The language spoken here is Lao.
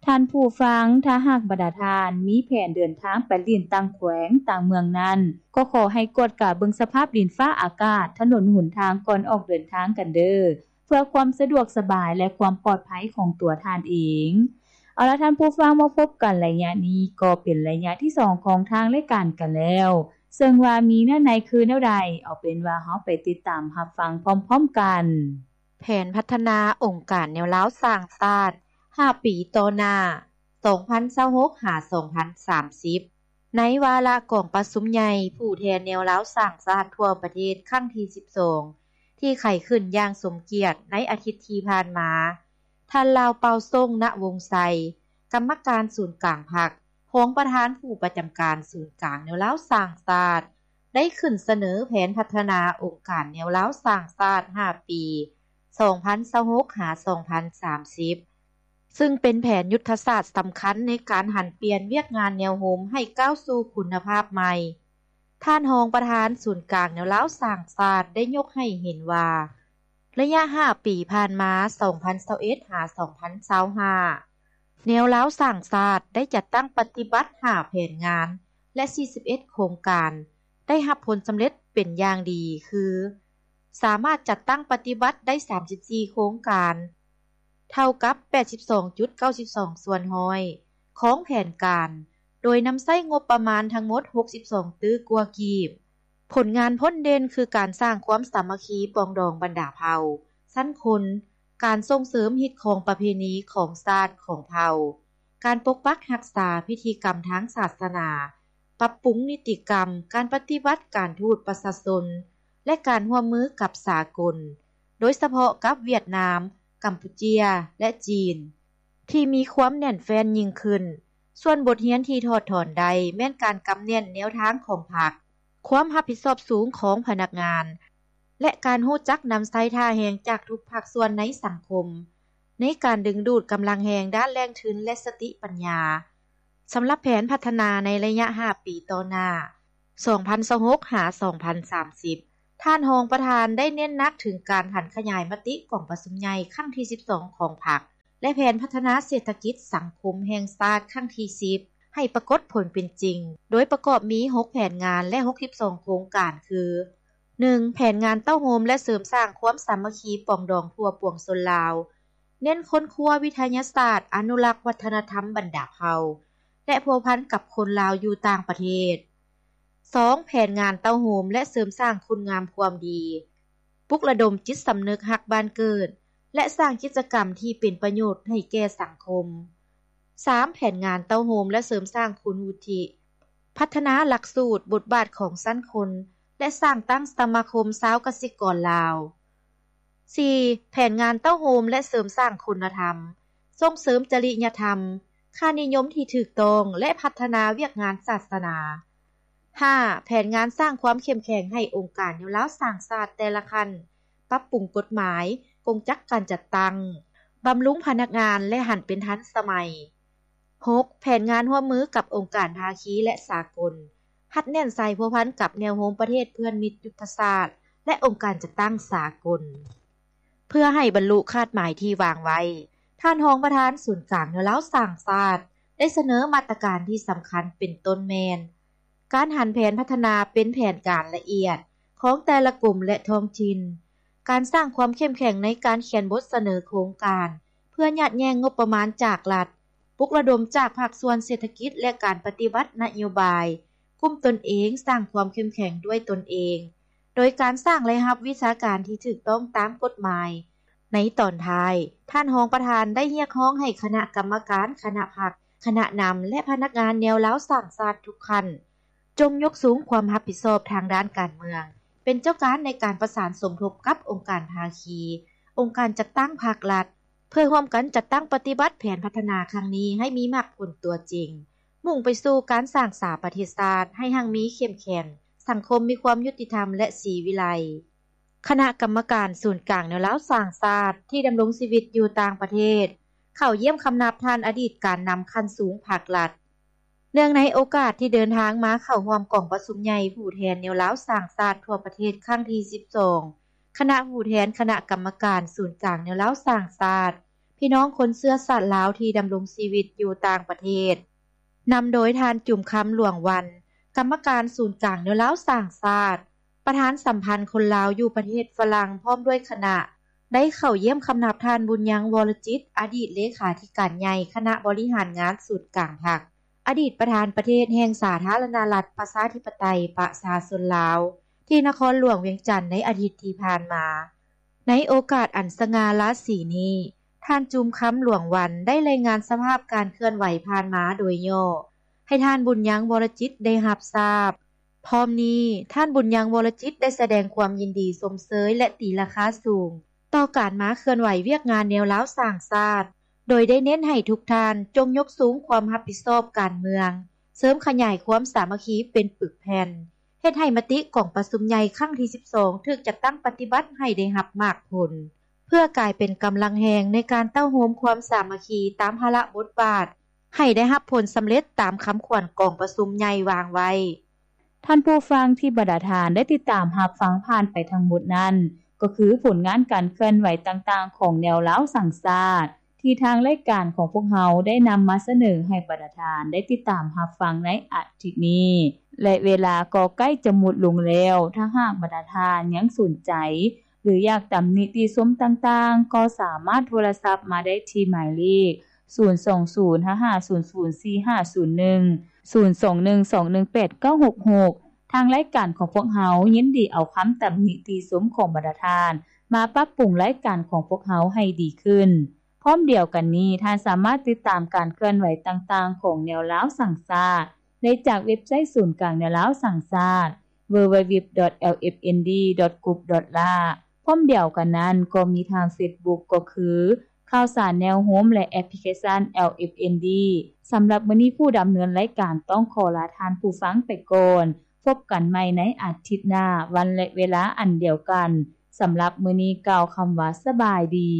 ທ່ານຜູ້ຟັງ, ຖ້າຫາກບັນດາທ່ານມີແຜນເດີນທາງໄປຫຼິ້ນຕ່າງແຂວງ, ຕ່າງເມືອງນັ້ນ, ກໍຂໍໃຫ້ກວດກາເບິ່ງສະພາບດິນຟ້າອາກາດ, ຖະໜົນຫົນທາງກ່ອນອອກເດີນທາງກັນເດີ້ ເພື່ອຄວາມສະດວກສະບາຍ ແລະ ຄວາມປອດໄພຂອງຕົວທ່ານເອງ. ເອົາລະທ່ານຜູ້ຟັງ, ມາພົບກັນໄລຍະນີ້ກໍເປັນໄລຍະທີສອງຂອງທາງລາຍການກັນແລ້ວ, ເຊິ່ງວ່າມີເນື້ອໃນຄືແນວໃດ, ເອົາເປັນວ່າເຮົາໄປຕິດຕາມຮັບຟັງພ້ອມໆກັນ. ແຜນພັດທະນາອົງການແນວລາວສ້າງຊາດ ຫ້າປີຕໍ່ໜ້າ ສອງພັນຊາວຫົກ ຫາ ສອງພັນສາມສິບ ໃນວາລະກອງປະຊຸມໃຫຍ່ຜູ້ແທນແນວລາວສ້າງຊາດທົ່ວປະເທດຄັ້ງທີສິບສອງ ທີ່ໄຂຂຶ້ນຢ່າງສົມກຽດໃນອາທິດທີ່ຜ່ານມາ, ທ່ານ ລາວເປົ່າ ສົງ ນະວົງໄຊ, ກຳມະການສູນກາງພັກ, ຮອງປະທານຜູ້ປະຈຳການສູນກາງແນວລາວສ້າງຊາດ ໄດ້ຂຶ້ນສະເໜີແຜນພັດທະນາອົງການແນວລາວສ້າງຊາດ ຫ້າປີ ສອງພັນຊາວຫົກ ຫາ ສອງພັນສາມສິບ ຊຶ່ງເປັນແຜນຍຸດທະສາດສຳຄັນໃນການຫັນປ່ຽນວຽກງານແນວໂຮມໃຫ້ກ້າວສູ່ຄຸນນະພາບໃໝ່. ທ່ານຮອງປະທານສູນກາງແນວລາວສ້າງຊາດໄດ້ຍົກໃຫ້ເຫັນວ່າ ໄລຍະຫ້າປີຜ່ານມາ ສອງພັນຊາວເອັດ ຫາ ສອງພັນຊາວຫ້າ ແນວລາວສ້າງຊາດໄດ້ຈັດຕັ້ງປະຕິບັດຫ້າແຜນງານ ແລະ ສີ່ສິບເອັດໂຄງການ ໄດ້ຮັບຜົນສຳເລັດເປັນຢ່າງດີ ຄື ສາມາດຈັດຕັ້ງປະຕິບັດໄດ້ສາມສິບສີ່ໂຄງການ ເທົ່າກັບແປດສິບສອງຈຸດເກົ້າສິບສອງສ່ວນຮ້ອຍຂອງແຜນການ, ໂດຍນຳໃຊ້ງົບປະມານທັງໝົດຫົກສິບສອງຕື້ກວ່າກີບ. ຜົນງານພົ້ນເດັ່ນຄືການສ້າງຄວາມສາມັກຄີປອງດອງບັນດາເຜົ່າ, ຊັ້ນຄົນ, ການສົ່ງເສີມຮີດຄອງປະເພນີຂອງຊາດຂອງເຜົ່າ, ການປົກປັກຮັກສາພິທີກຳທາງສາສະໜາ, ປັບປຸງນິຕິກຳ, ການປະຕິວັດການທູດປະຊາຊົນ ແລະ ການຮ່ວມມືກັບສາກົນ, ໂດຍສະເພາະກັບຫວຽດນາມ, ກຳປູເຈຍ ແລະ ຈີນ ທີ່ມີຄວາມແໜ້ນແຟ້ນຍິ່ງຂຶ້ນ. ສ່ວນບົດຮຽນທີ່ຖອດຖອນໄດ້ແມ່ນການກຳແໜ້ນແນວທາງຂອງພັກ, ຄວາມຮັບຜິດຊອບສູງຂອງພະນັກງານ ແລະ ການຮູ້ຈັກນຳໃຊ້ທ່າແຮງຈາກທຸກພາກສ່ວນໃນສັງຄົມ ໃນການດຶງດູດກຳລັງແຮງດ້ານແຫຼ່ງທຶນ ແລະ ສະຕິປັນຍາ ສຳລັບແຜນພັດທະນາໃນໄລຍະຫ້າປີຕໍ່ໜ້າ ສອງພັນຊາວຫົກ ຫາ ສອງພັນສາມສິບ. ທ່ານຮອງປະທານໄດ້ເນັ້ນໜັກເຖິງການຫັນຂະຫຍາຍມະຕິກອງປະຊຸມໃຫຍ່ຄັ້ງທີສິບສອງຂອງພັກ ແລະ ແຜນພັດທະນາເສດຖະກິດສັງຄົມແຫ່ງຊາດຄັ້ງທີສິບ ໃຫ້ປາກົດຜົນເປັນຈິງ, ໂດຍປະກອບມີຫົກແຜນງານ ແລະ ຫົກສິບສອງໂຄງການ ຄື ໜຶ່ງ ແຜນງານເຕົ້າໂຮມ ແລະ ເສີມສ້າງຄວາມສາມັກຄີປອງດອງທົ່ວປວງຊົນລາວ, ເນັ້ນຄົ້ນຄວ້າວິທະຍາສາດ, ອະນຸລັກວັດທະນະທຳບັນດາເຜົ່າ ແລະ ພົວພັນກັບຄົນລາວຢູ່ຕ່າງປະເທດ. ສອງ ແຜນງານເຕົ້າໂຮມ ແລະ ເສີມສ້າງຄຸນງາມຄວາມດີ, ປຸກລະດົມຈິດສຳນຶກຮັກບ້ານເກີດ ແລະ ສ້າງກິດຈະກຳທີ່ເປັນປະໂຫຍດໃຫ້ແກ່ສັງຄົມ. ສາມ ແຜນງານເຕົ້າໂຮມ ແລະ ເສີມສ້າງຄຸນວຸດທິ, ພັດທະນາຫຼັກສູດ, ບົດບາດຂອງຊັ້ນຄົນ ແລະ ສ້າງຕັ້ງສະມາຄົມຊາວກະສິກອນລາວ. ສີ່ ແຜນງານເຕົ້າໂຮມ ແລະ ເສີມສ້າງຄຸນນະທຳ, ສົ່ງເສີມຈະລິຍະທຳ, ຄ່ານິຍົມທີ່ຖືກຕ້ອງ ແລະ ພັດທະນາວຽກງານສາສະໜາ. ຫ້າ ແຜນງານສ້າງຄວາມເຂັ້ມແຂງໃຫ້ອົງການແນວລາວສ້າງຊາດແຕ່ລະຂັ້ນ, ປັບປຸງກົດໝາຍ, ກົງຈັກການຈັດຕັ້ງ, ບຳລຸງພະນັກງານ ແລະ ຫັນເປັນທັນສະໄໝ. ຫົກ ແຜນງານຮ່ວມມືກັບອົງການພາຄີ ແລະ ສາກົນ, ຮັດແໜ້ນໃສ່ພົວພັນກັບແນວໂຮມປະເທດເພື່ອນມິດຍຸດທະສາດ ແລະ ອົງການຈັດຕັ້ງສາກົນ. ເພື່ອໃຫ້ບັນລຸຄາດໝາຍທີ່ວາງໄວ້, ທ່ານຮອງປະທານສູນກາງແນວລາວສ້າງຊາດ ໄດ້ສະເໜີມາດຕະການທີ່ສຳຄັນເປັນຕົ້ນແມ່ນ ການຫັນແຜນພັດທະນາເປັນແຜນການລະອຽດຂອງແຕ່ລະກົມ ແລະ ທ້ອງຖິ່ນ, ການສ້າງຄວາມເຂັ້ມແຂງໃນການຂຽນບົດສະເໜີໂຄງການ ເພື່ອຍາດແຍ່ງງົບປະມານຈາກລັດ, ປຸກລະດົມຈາກພາກສ່ວນເສດຖະກິດ ແລະ ການປະຕິບັດນະໂຍບາຍ, ກຸ່ມຕົນເອງ, ສ້າງຄວາມເຂັ້ມແຂງດ້ວຍຕົນເອງ ໂດຍການສ້າງລາຍຮັບວິຊາການທີ່ຖືກຕ້ອງຕາມກົດໝາຍ. ໃນຕອນທ້າຍ, ທ່ານຮອງປະທານໄດ້ຮຽກຮ້ອງໃຫ້ຄະນະກຳມະການ, ຄະນະພັກ, ຄະນະນຳ ແລະ ພະນັກງານແນວລາວສ້າງຊາດທຸກຂັ້ນ ຈົ່ງຍົກສູງຄວາມຮັບຜິດຊອບທາງດ້ານການເມືອງ, ເປັນເຈົ້າການໃນການປະສານສົມທົບກັບອົງການພາຄີ, ອົງການຈັດຕັ້ງພາກລັດ, ເພື່ອຮ່ວມກັນຈັດຕັ້ງປະຕິບັດແຜນພັດທະນາຄັ້ງນີ້ໃຫ້ມີໝາກຜົນຕົວຈິງ, ມຸ່ງໄປສູ່ການສ້າງສາປະເທດຊາດໃຫ້ຮັ່ງມີເຂັ້ມແຂງ, ສັງຄົມມີຄວາມຍຸຕິທຳ ແລະ ສີວິໄລ. ຄະນະກຳມະການສູນກາງແນວລາວສ້າງຊາດທີ່ດຳລົງຊີວິດຢູ່ຕ່າງປະເທດ ເຂົ້າຢ້ຽມຄຳນັບທ່ານອະດີດການນຳຂັ້ນສູງພາກລັດ. ເນື່ອງໃນໂອກາດທີ່ເດີນທາງມາເຂົ້າຮ່ວມກອງປະຊຸມໃຫຍ່ຜູ້ແທນແນວລາວສ້າງຊາດທົ່ວປະເທດຄັ້ງທີສິບສອງ ຄະນະຜູ້ແທນຄະນະກຳມະການສູນກາງແນວລາວສ້າງຊາດ ພີ່ນ້ອງຄົນເຊື້ອຊາດລາວທີ່ດຳລົງຊີວິດຢູ່ຕ່າງປະເທດ ນຳໂດຍທ່ານ ຈູມຄຳ ຫຼວງວັນ ກຳມະການສູນກາງແນວລາວສ້າງຊາດ, ປະທານສຳພັນຄົນລາວຢູ່ປະເທດຝຣັ່ງ ພ້ອມດ້ວຍຄະນະ ໄດ້ເຂົ້າຢ້ຽມຄຳນັບທ່ານ ບຸນຍັງ ວໍລະຈິດ ອະດີດເລຂາທິການໃຫຍ່ຄະນະບໍລິຫານງານສູນກາງພັກ, ອະດີດປະທານປະເທດແຫ່ງສາທາລະນະລັດ ປະຊາທິປະໄຕ ປະຊາຊົນລາວ ທີ່ນະຄອນຫຼວງວຽງຈັນໃນອາທິດທີ່ຜ່ານມາ. ໃນໂອກາດອັນສະຫງ່າລາສີນີ້, ທ່ານ ຈູມຄຳ ຫຼວງວັນ ໄດ້ລາຍງານສະພາບການເຄື່ອນໄຫວຜ່ານມາໂດຍຫຍໍ້ ໃຫ້ທ່ານ ບຸນຍັງ ວໍລະຈິດ ໄດ້ຮັບຊາບ. ພ້ອມນີ້, ທ່ານ ບຸນຍັງ ວໍລະຈິດ ໄດ້ສະແດງຄວາມຍິນດີຊົມເຊີຍ ແລະ ຕີລາຄາສູງ ຕໍ່ການມາເຄື່ອນໄຫວວຽກງານແນວລາວສ້າງຊາດ, ໂດຍໄດ້ເນັ້ນໃຫ້ທຸກທ່ານຈົ່ງຍົກສູງຄວາມຮັບຜິດຊອບການເມືອງ, ເສີມຂະຫຍາຍຄວາມສາມັກຄີເປັນປຶກແຜ່ນ, ເຮັດໃຫ້ມະຕິກອງປະຊຸມໃຫຍ່ຄັ້ງທີສິບສອງ ຖືກຈັດຕັ້ງປະຕິບັດໃຫ້ໄດ້ຮັບໝາກຜົນ, ເພື່ອກາຍເປັນກຳລັງແຮງໃນການເຕົ້າໂຮມຄວາມສາມັກຄີຕາມພາລະບົດບາດ ໃຫ້ໄດ້ຮັບຜົນສຳເລັດຕາມຄຳຂວັນກອງປະຊຸມໃຫຍ່ວາງໄວ້. ທ່ານຜູ້ຟັງທີ່ບັນດາທ່ານໄດ້ຕິດຕາມຮັບຟັງຜ່ານໄປທັງໝົດນັ້ນ, ກໍຄືຜົນງານການເຄື່ອນໄຫວຕ່າງໆຂອງແນວລາວສ້າງຊາດ ທີ່ທາງລາຍການຂອງພວກເຮົາໄດ້ນຳມາສະເໜີໃຫ້ບັນດາທ່ານໄດ້ຕິດຕາມຮັບຟັງໃນອາທິດນີ້ ແລະ ເວລາກໍໃກ້ຈະໝົດລົງແລ້ວ. ຖ້າຫາກບັນດາທ່ານຍັງສົນໃຈ ຫຼື ຢາກຕຳໜິຕິຊົມຕ່າງໆ ກໍສາມາດໂທລະສັບມາໄດ້ທີ່ໝາຍເລກ ສູນສອງສູນ ຫ້າຫ້າສູນສູນ ສີ່ຫ້າສູນໜຶ່ງ ສູນສອງໜຶ່ງສອງໜຶ່ງແປດເກົ້າຫົກຫົກ. ທາງລາຍການຂອງພວກເຮົາຍິນດີເອົາຄຳຕຳໜິຕິຊົມຂອງບັນດາທ່ານ ມາປັບປຸງລາຍການຂອງພວກເຮົາໃຫ້ດີຂຶ້ນ. ພ້ອມດຽວກັນນີ້, ທ່ານສາມາດຕິດຕາມການເຄື່ອນໄຫວຕ່າງໆຂອງແນວລາວສ້າງຊາດ ໄດ້ຈາກເວັບໄຊສູນກາງແນວລາວສ້າງຊາດ www.lfnd.gov.la. ພ້ອມດຽວກັນນັ້ນກໍມີທາງເຟສບຸກ ກໍຄື ຂ່າວສານແນວໂຮມ ແລະ ແອັບພລິເຄຊັນ LFND. ສຳລັບມື້ນີ້ ຜູ້ດຳເນີນລາຍການຕ້ອງຂໍລາທ່ານຜູ້ຟັງໄປກ່ອນ. ພົບກັນໃໝ່ໃນອາທິດໜ້າ, ວັນ ແລະ ເວລາອັນດຽວກັນ. ສຳລັບມື້ນີ້ກ່າວຄຳວ່າສະບາຍດີ.